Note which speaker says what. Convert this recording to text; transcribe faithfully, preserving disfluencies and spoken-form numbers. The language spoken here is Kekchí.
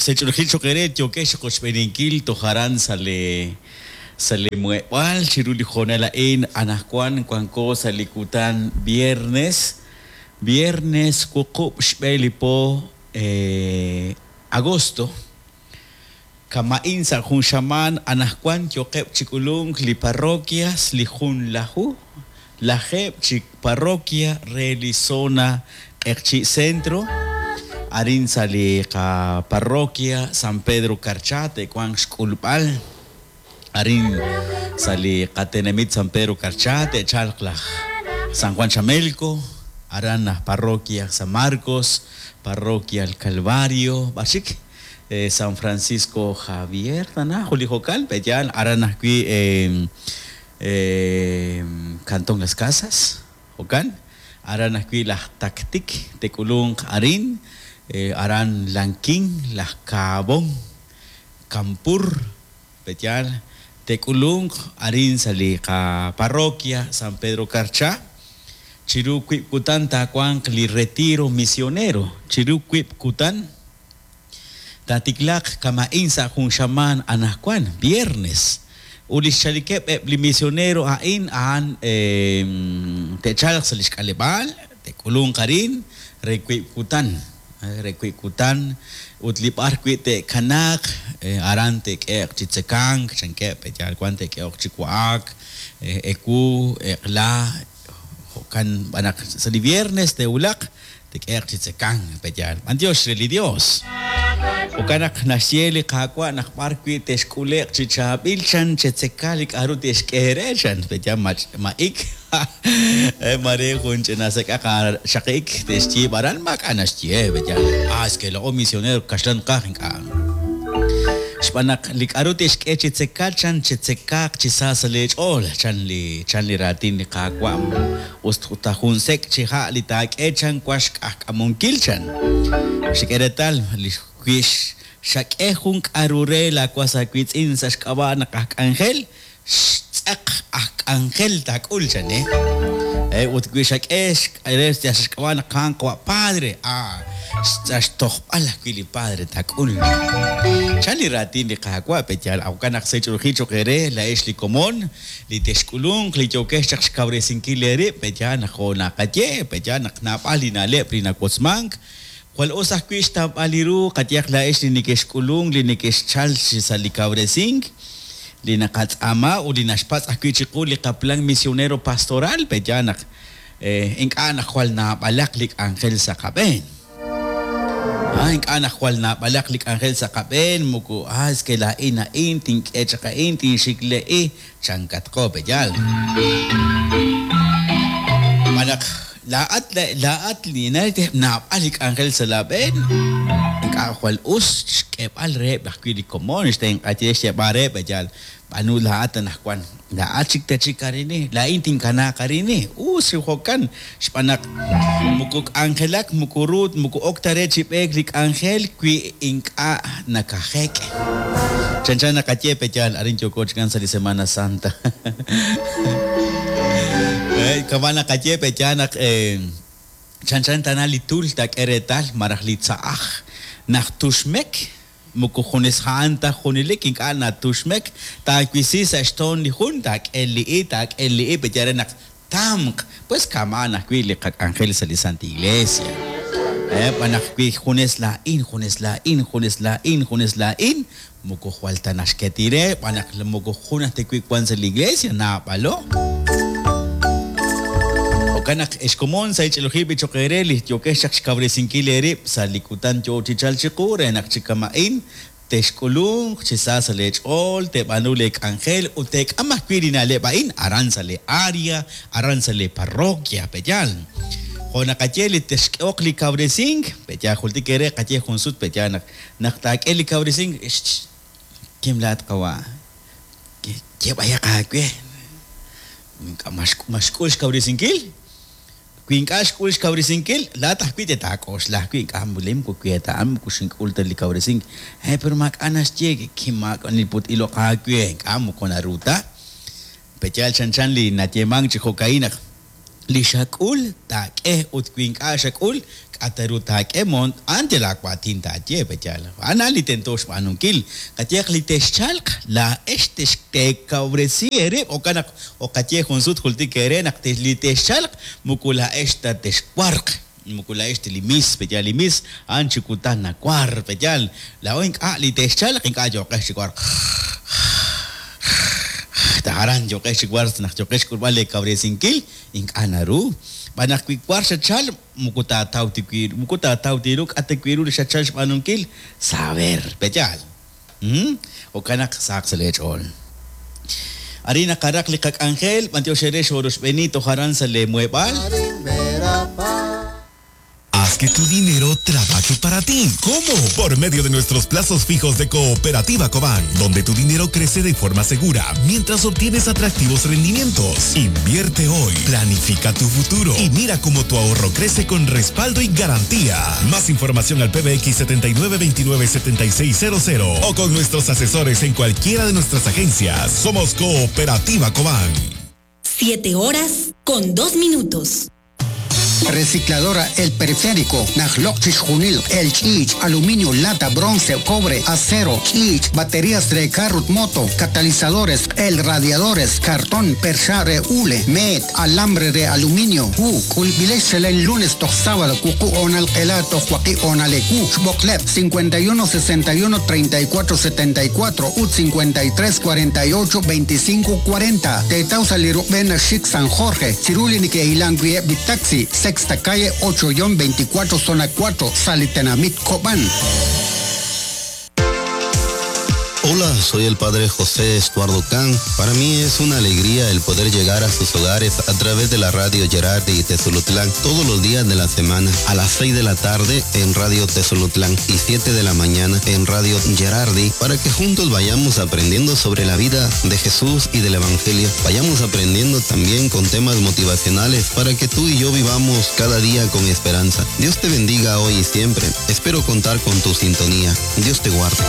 Speaker 1: Sech'ulujil choq' eere yookex qochb'eeninkil toj aran sa' li sa' li muheb'aal chiru li hoonal a'in. Anaqwan wanko sa' li kutan viernes, viernes wuqub' xb'e li po eh, agosto. Kama'in sa' jun xamaan anaqwan yoqeb' chi k'ulunk li parroquias li junlaju lajeeb' chi parroquia re li zona Q'eqchi' Centro. Arin sa' li qaparroquia San Pedro Carchá te'wanq xk'ulb'al. Arin sa' li qatenamit San Pedro Carchá te'chalq laj San Juan Chamelco, aran laj parroquia San Marcos, parroquia El Calvario, b'ar chik eh, San Francisco Javier tana Julijokal, pe'yaal aran ajwi' eh, eh, Cantón Las Casas, jo'kan aran ajwi' laj Tactic te'k'ulunq arin, eh, aran Lanquín, laj Cabón, Campur, pe'yaal te'k'ulunq arin sa' li qaparroquia San Pedro Carchá. Chiru wiib' kutan taawanq li retiro misionero. Chiru wiib' kutan taatiklaaq kama'in sa' jun xamaan anaqwan viernes. Ut li xchalikeb' eb' li misionero a'in a'an eh, te'chalq sa' li xk'aleb'aal, te'k'ulunq arin re wiib' kutan, re wiib' kutan ut li b'ar wi' te'kanaaq eh, aran te'k'ehe'q chi tzekank, chankeb' pe'yaal wan te'k'ehe'q chi wa'ak, eh, ewu, eq'la, jo'kan b'anaq sa' li viernes te'wulaq te'k'ehe'q chi tzekank, pe'yaal. B'antiox re li Dios. Jo'kan naq naxye li Qaawa' naq b'ar wi' te'xk'ule'q chi chaab'il chan chetzeka li k'a'ru te'xk'e eere chan, pe'yaal ma'ik mare jun ch'ina sek'aq xaqik te'xyiib' aran maak'a' naxye, pe'yaal. Ah, es que laa'o misionero kaxlan qaj ink'a'. Xb'aan naq li k'a'ru te'xk'e chi tzeka chan chetzekaaq chi sa sa' leech'ool chan li chan li raatin li Qaawa'. Us ta jun sek' chi ha' li taak'e chan wax k'ajk'amunkil chan. Xik'e reetal li wi xak'e jun k'a'ru re laawas aawiitz'in sa' xk'ab'a' naq aj k'anjel, xtz'aq aj k'anjel taak'ul chan, eh. Eh, ut wi xak'e re sa' xk'ab'a' naq a'an qawa' padre, ah, sa' xtojb'al ajwi' li padre taak'ul. Chan li raatin li Qaawa' pe'yaal jo'kan naq sech'ulujil choq' eere laa'ex li komon, li texk'ulunq, li yookex chaq xkawresinkil eerib', pe'yaal naq jo' naqaye, pe'yaal naq naab'al li na'leb' li nawotzmank. Jwal us ajwi' xtawb'al li ru qayehaq laa'ex li neke'xk'ulunk, li neke'xchal sa' li kawresink, li naqatz'aama ut li naxpatz' ajwi' chiqu li qaplan misionero pastoral, pe'yaal naq eh, ink'a' naq jwal naab'alaq li k'anjel sa' qab'een. Ah, ink'a' naq jwal naab'alaq li k'anjel sa' qab'een, moko ah, es que laa'in a'in, tink'e chaq a'in, tinxikle'i, chankatqo, pe'yaal. B'an naq laa'at laa'at li naab'al li k'anjel sa' laab'een, ink'a' jwal us xk'eeb'al reheb' ajwi' li komon, xtenq'aye xyeeb'al reheb', pe'yaal. B'aanu laa'at anaqwan, laa'at chik tachik arini, laa'in tinkanaaq arini, us jo'kan, xb'aan naq moko k'anjelak, moko ru, moko ok ta re chi b'eek li k'anjel wi ink'a' nakajek'. Chanchan naqaye pe'yaal, arin yooko chikan sa' li Semana Santa. Eh, kama' naqaye pe'yaal naq eh, chanchan tana li tul taak'e reetal maraj li tza'aj naq tuxmek, moko junes a'an ta junelik ink'a' natuxmek, taawisi sa' xtoon li jun, taak'e li i, taak'e li i, pe'yaal re naq tamq, pues kama'an ajwi' li qak'anjel sa' li Santa Iglesia. Eh, b'an naq wi junes laa'in, junes laa'in, junes laa'in, junes laa'in, moko jwal ta naxketi re, b'an naq moko jun aj ta wi' wan sa' li iglesia, naab'alo. Jo'kan naq ex komon sa' ich'ilujil b'i choq' eere li yookex chaq xkawresinkil eerib' sa' li kutan yoo chi chalk chiqu re naq chi kama'in texk'ulunq chi sa sa' leech'ool, teeb'aanu leek'anjel ut teek'am ajwi' li na'leb' a'in aran sa' li área, aran sa' li parroquia, pe'yaal. Jo' naqaye li texk'ehoq li kawresink, pe'yaal jultik eere qaye jun sut pe'yaal naq naq taak'e li kawresink, kim laat qawa', yeb'ayaq aawe. Ink'a' maxk'ul xkawresinkil? Wi ink'a' xk'ul xkawresinkil, laa'at ajwi' te'taak'oxla ajwi' ink'a' mulim moko wi ta a'an moko xink'ul ta li kawresink. Eh, pero maak'a' naxye kim maak'a' put iloq aawe, ink'a' moko naru ta. Pe'yaal chanchan li nayeemank chi jo'ka'in naq Li xak'ul taak'e ut wi ink'a' xak'ul k'a' ta ru taak'e moon a'an yal aawaatin taaye pe'yaal a'an a'an li tento xb'aanunkil qayehaq li texchalq laa'ex texteekawresi eerib' jo'kan naq oqaye jun sut jultik eere naq li texchalq moko laa'ex ta texwarq moko laa'ex ta li mis pe'yaal li mis a'an chi kutan nawar pe'yaal laa'o ink'a' li texchalq ink'a' yooqex chi warq aran yooqex chi warq naq yooqex xk'ulb'al leekawresinkil ink'a' naru b'an naq wi war xachal moko taataw ta wi moko taataw ta ru k'a' ta wi ru li xachal xb'aanunkil saber pe'yaal jo'kan naq sahaq sa' leech'ool arin naqaraq li qak'anjel b'antiox eere xoroxb'eeni toj aran sa' leemuheb'aal.
Speaker 2: Haz que tu dinero trabaje para ti. ¿Cómo? Por medio de nuestros plazos fijos de Cooperativa Cobán, donde tu dinero crece de forma segura mientras obtienes atractivos rendimientos. Invierte hoy, planifica tu futuro y mira cómo tu ahorro crece con respaldo y garantía. Más información al P B X setenta y nueve veintinueve setenta y seis cero cero o con nuestros asesores en cualquiera de nuestras agencias. Somos Cooperativa Cobán.
Speaker 3: Siete horas con dos minutos.
Speaker 4: Recicladora El Periférico, Najlok Chishjunil, El Chich, aluminio, lata, bronce, cobre, acero, chich, baterías de carro, moto, catalizadores, el radiadores, cartón, perchare, hule, met, alambre de aluminio, u, culbilexel el lunes, toch sábado, cucu, onal, elato, joaquí, onalecu, xboklep, cincuenta y uno, sesenta y uno, treinta y cuatro, setenta y cuatro, ut, cincuenta y tres, cuarenta y ocho, veinticinco, cuarenta, Tetausa, Lirubena, Chic, San Jorge, Chiruli, Nike, Ilanguie, Bitaxi, Sexta calle ocho guion veinticuatro, zona cuatro, Salitenamit, Cobán.
Speaker 5: Hola, soy el padre José Estuardo Can. Para mí es una alegría el poder llegar a sus hogares a través de la radio Gerardi y Tezulutlán todos los días de la semana a las seis de la tarde en Radio Tezulutlán y siete de la mañana en Radio Gerardi para que juntos vayamos aprendiendo sobre la vida de Jesús y del Evangelio. Vayamos aprendiendo también con temas motivacionales para que tú y yo vivamos cada día con esperanza. Dios te bendiga hoy y siempre. Espero contar con tu sintonía. Dios te guarde.